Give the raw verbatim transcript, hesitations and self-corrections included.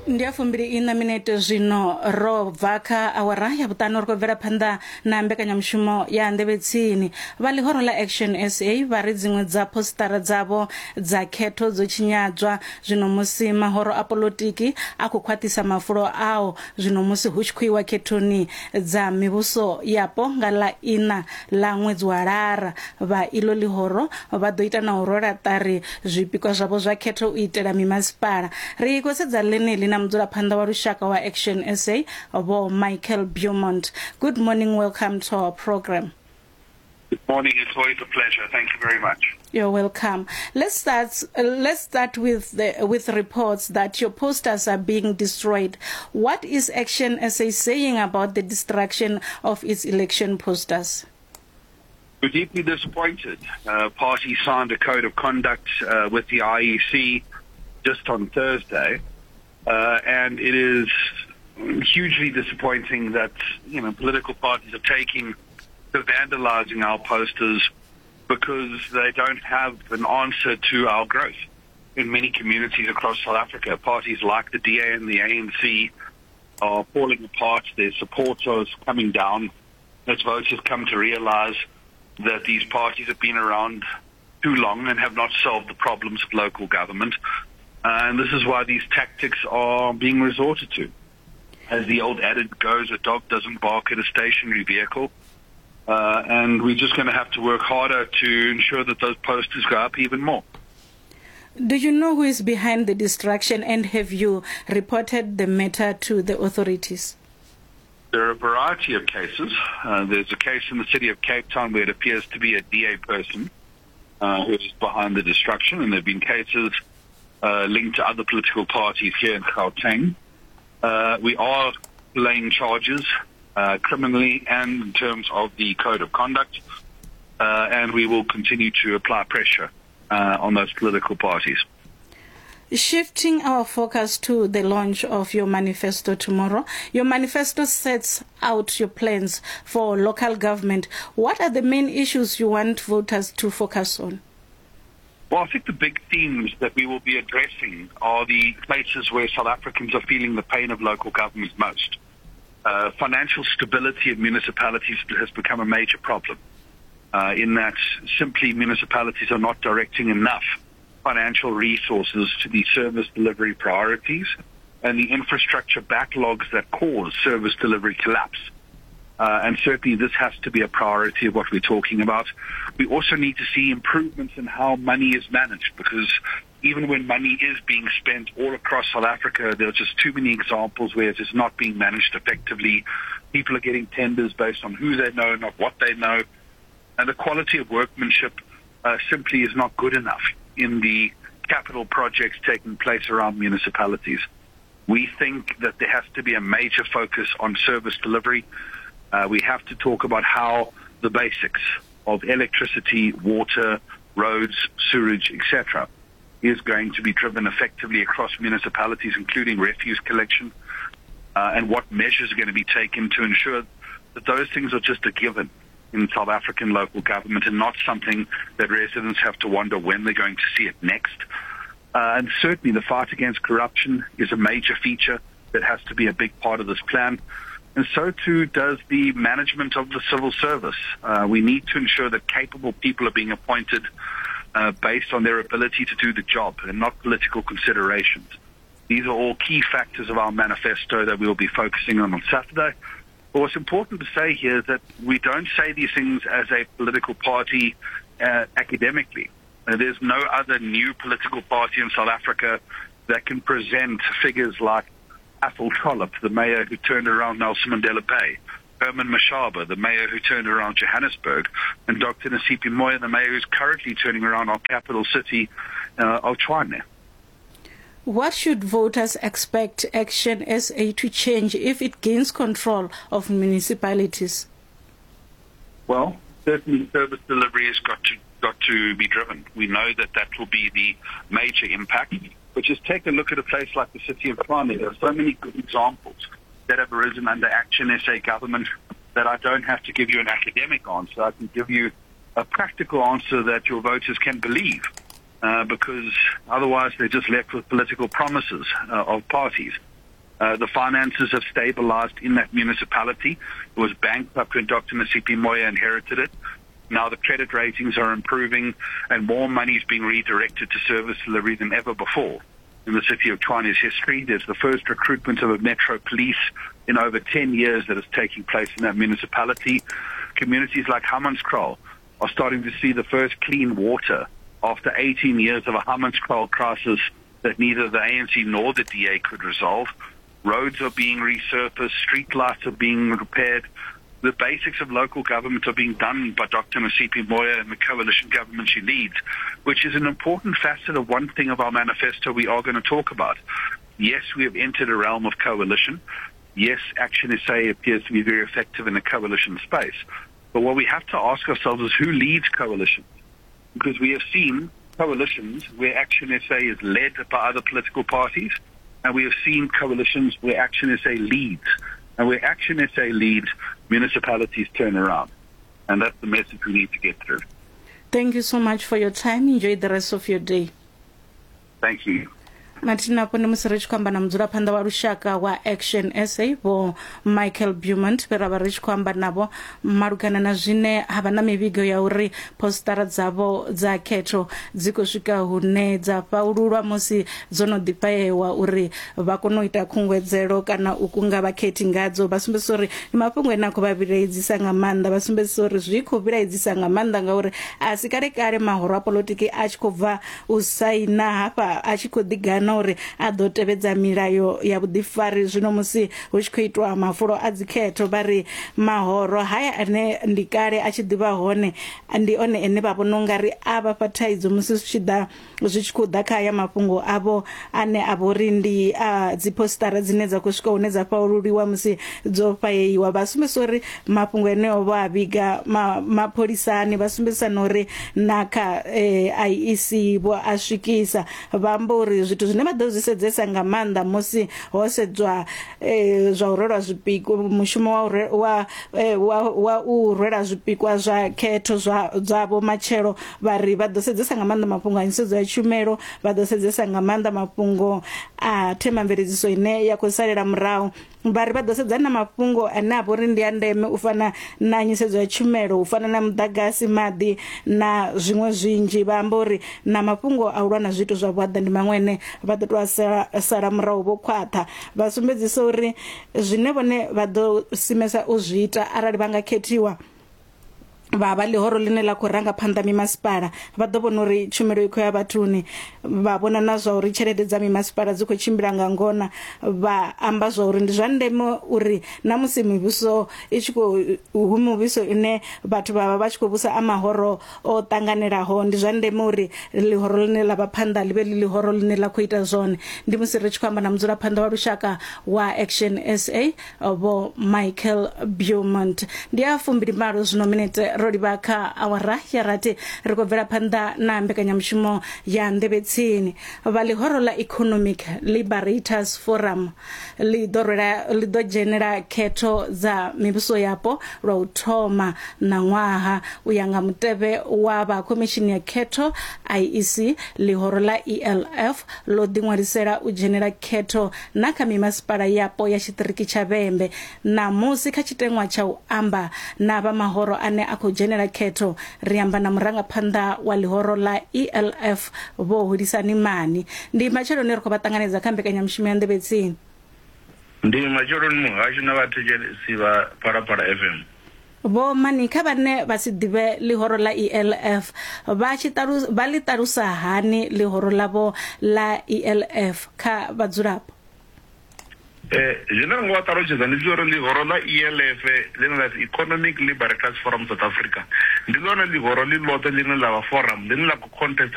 Ndi ya fumbili ina minete zwino ro bva kha awara ya vhuṱanu, ri khou bvela phanḓa na mbekanyamushumo ya Nḓevhe Tsini. Vha ḽihoro ḽa Action S A vha ri dziṅwe dza postara dzavho dza khetho dzo tshinyadzwa zwino musi mahoro a polotiki a khou khwaṱhisa mafulo ao zwino musi hu tshi khou iwa khethoni dza mivhuso yapo nga ḽa ina ḽa ṅwedzi wa Lara. Vha ilo ḽihoro vha ḓo ita na u rwela ṱari zwipikwa zwavho zwa khetho u itela mimasipala. Ri khou sedza ḽeneḽi na mudzulaphanḓa wa lushaka wa Action S A, Vho Michael Beaumont. Good morning, welcome to our program. Good morning. It's always a pleasure. Thank you very much. You're welcome. Let's start. Uh, let's start with the, with reports that your posters are being destroyed. What is Action S A saying about the destruction of its election posters? We're deeply disappointed. Uh, party signed a code of conduct uh, with the I E C just on Thursday, uh, and it is hugely disappointing that you know political parties are taking to vandalizing our posters because they don't have an answer to our growth in many communities across South Africa. Parties like the D A and the A N C are falling apart. Their support is coming down as voters come to realize that these parties have been around too long and have not solved the problems of local government. And this is why these tactics are being resorted to. As the old adage goes, a dog doesn't bark at a stationary vehicle. Uh, and we're just going to have to work harder to ensure that those posters go up even more. Do you know who is behind the destruction, and have you reported the matter to the authorities? There are a variety of cases. Uh, there's a case in the city of Cape Town where it appears to be a D A person uh, who is behind the destruction, and there have been cases uh, linked to other political parties here in Gauteng. Uh, we are laying charges uh, criminally and in terms of the code of conduct, uh, and we will continue to apply pressure uh, on those political parties. Shifting our focus to the launch of your manifesto tomorrow, your manifesto sets out your plans for local government. What are the main issues you want voters to focus on? Well, I think the big themes that we will be addressing are the places where South Africans are feeling the pain of local government most. Uh, financial stability of municipalities has become a major problem, uh, in that simply municipalities are not directing enough financial resources to the service delivery priorities and the infrastructure backlogs that cause service delivery collapse. Uh, and certainly this has to be a priority of what we're talking about. We also need to see improvements in how money is managed, because even when money is being spent all across South Africa, there are just too many examples where it is not being managed effectively. People are getting tenders based on who they know, not what they know. And the quality of workmanship uh, simply is not good enough in the capital projects taking place around municipalities. We think that there has to be a major focus on service delivery. Uh, we have to talk about how the basics of electricity, water, roads, sewage, et cetera is going to be driven effectively across municipalities, including refuse collection, uh, and what measures are going to be taken to ensure that those things are just a given in South African local government and not something that residents have to wonder when they're going to see it next. Uh, and certainly the fight against corruption is a major feature that has to be a big part of this plan. And so too does the management of the civil service. Uh, we need to ensure that capable people are being appointed uh, based on their ability to do the job and not political considerations. These are all key factors of our manifesto that we will be focusing on on Saturday. But what's important to say here is that we don't say these things as a political party uh, academically. Uh, there's no other new political party in South Africa that can present figures like Athol Trollip, the mayor who turned around Nelson Mandela Bay, Herman Mashaba, the mayor who turned around Johannesburg, and Doctor Nasiphi Moya, the mayor who's currently turning around our capital city uh, of Tshwane. What should voters expect Action S A to change if it gains control of municipalities? Well, certainly service delivery has got to got to be driven. We know that that will be the major impact. But just take a look at a place like the city of Tshwane. There are so many good examples that have arisen under Action S A government that I don't have to give you an academic answer. I can give you a practical answer that your voters can believe, uh, because otherwise they're just left with political promises uh, of parties. Uh, the finances have stabilized in that municipality. It was bankrupt when Doctor Nasiphi Moya inherited it. Now the credit ratings are improving and more money is being redirected to service delivery than ever before in the city of Tshwane's history. There's the first recruitment of a metro police in over ten years that is taking place in that municipality. Communities like Hammanskraal are starting to see the first clean water after eighteen years of a Hammanskraal crisis that neither the A N C nor the D A could resolve. Roads are being resurfaced, street lights are being repaired. The basics of local government are being done by Doctor Nasiphi Moya and the coalition government she leads, which is an important facet of one thing of our manifesto we are going to talk about. Yes, we have entered a realm of coalition. Yes, Action S A appears to be very effective in a coalition space. But what we have to ask ourselves is who leads coalitions? Because we have seen coalitions where Action S A is led by other political parties, and we have seen coalitions where Action S A leads. And where Action S A leads, municipalities turn around. And that's the message we need to get through. Thank you so much for your time. Enjoy the rest of your day. Thank you. Mathina afho ndi musi ri tshi khou amba na mudzulaphanḓa wa lushaka wa Action S A Vho Michael Beaumont, vhe ra vha ri tshi khou amba navho malugana na zwine ha vha na mivhigo ya uri postara dzavho dza khetho dzi khou swika hune dza fhaululwa musi dzo no ḓifhaewa uri vha kone u ita khunguwedzelo kana u kunga vhakhethi ngadzo. Vha sumbedzisa uri ndi mafhungo ane a khou vha vhilaedzisa nga maanḓa, vha sumbedzisa uri zwi khou vhilaedzisa nga maanḓa ngauri a si kale kale mahoro a polotiki a tshi khou bva u saina hafha a tshi khou ḓigana uri a ḓo tevhedza milayo ya vhuḓifari. Zwino musi hu tshi khou itwa mafulo a dzikhetho vha ri mahoro haya ane ndi kale a tshi ḓivha hone ndi one ene vha vhona ungari a vha fha thaidzo musi zwi tshi ḓa zwi tshi khou ḓa kha haya mafhungo avho ane a vho ri ndi a dzi postara dzine dza khou swika hune dza fhaululiwa musi dzo fhayeiwa. Vha sumbedzisa uri mafhungo eneo vho a vhiga mapholisani, vha sumbedzisa na uri na kha I E C vho a swikisa. Vha amba uri zwithu zwine vha ḓo zwi sedzesa nga maanḓa musi ho sedzwa eh, zwa u rwelwa zwipikwa, mushumo wa wa wa, wa u rwela zwipikwa zwa khetho zwa dzavho matshelo, vha ri vha ḓo sedzesa nga maanḓa mafhungo a nyisedzo ya tshumelo, vha ḓo sedzesa nga maanḓa mafhungo a themamveledziso ine ya khou salela murahu. Vha ri vha ḓo sedza na mafhungo ane a vha uri ndi a ndeme u fana na nyisedzo ya tshumelo, u fana na muḓagasi, maḓi na zwiṅwe zwinzhi. Vha amba uri na mafhungo a u lwa na zwiito zwa vhuaḓa ndi maṅwe ane vha ḓo tou sala, sala murahu vho khwaṱha. Vha sumbedzisa uri zwine vhone vha ḓo simesa u zwi ita arali vha nga khethiwa vha vha ḽihoro ḽine ḽa khou ranga phanḓa mimasipala, vha ḓo vhona uri tshumelo i khou ya vhathuni, vha vhona na zwa uri tshelede dza mimasipala dzi khou tshimbila nga ngona. Vha amba zwa uri ndi zwa ndeme uri na musi mivhuso i tshi khou hu muvhuso ine vhathu vha vha vha tshi khou vhusa a mahoro o ṱanganelaho, ndi zwa ndeme uri ḽihoro ḽine ḽa vha phanḓa ḽi vhe ḽi ḽihoro ḽine ḽa khou ita zwone. Ndi musi ri tshi khou amba na mudzulaphanḓa wa lushaka wa Action S A Vho Michael Beaumont. Ndi a fumbili malo zwino minete ro livha kha awara ya rathi, ri khou bvela phanḓa na mbekanyamushumo ya nḓevhetsini. Vha ḽihoro ḽa Economic Liberators Forum ḽi ḓo rwela ḽi ḓo dzhenela khetho dza mivhuso yapo lwa u thoma na ṅwaha u ya nga mutevhe wa vha khomishini ya khetho I E C. Ḽihoro ḽa E L F ḽo ḓiṅwalisela u dzhenela khetho na kha mimasipala yapo ya tshiṱiriki tsha Vhembe. Ṋamusi kha tshiteṅwa tsha u amba na vha mahoro ane a khou dzhenela khetho ri amba na murangaphanḓa wa ḽihoro ḽa E L F Vho Hulisani Mani. Ndi matsheloni ri khou vha ṱanganedza kha mbekanyamushumo ya nḓevhetsini. Ndi matsheloni muhasho na vhathetshelesi vha Phalaphala F M. Vho Mani, kha vhane vha si ḓivhe ḽihoro ḽa E L F vha tshi ṱalu vha ḽi ṱalusa hani ḽihoro ḽavho ḽa E L F kha vhadzulapo? Eh, zwine ra nga vha ṱalutshedza ndi uri ḽihoro ḽa E L F ḽine ḽa pfi Economic Liberators Forum South Africa ndi ḽone ḽihoro ḽi ḽoṱhe ḽine ḽa vha forum ḽine ḽa khou contesta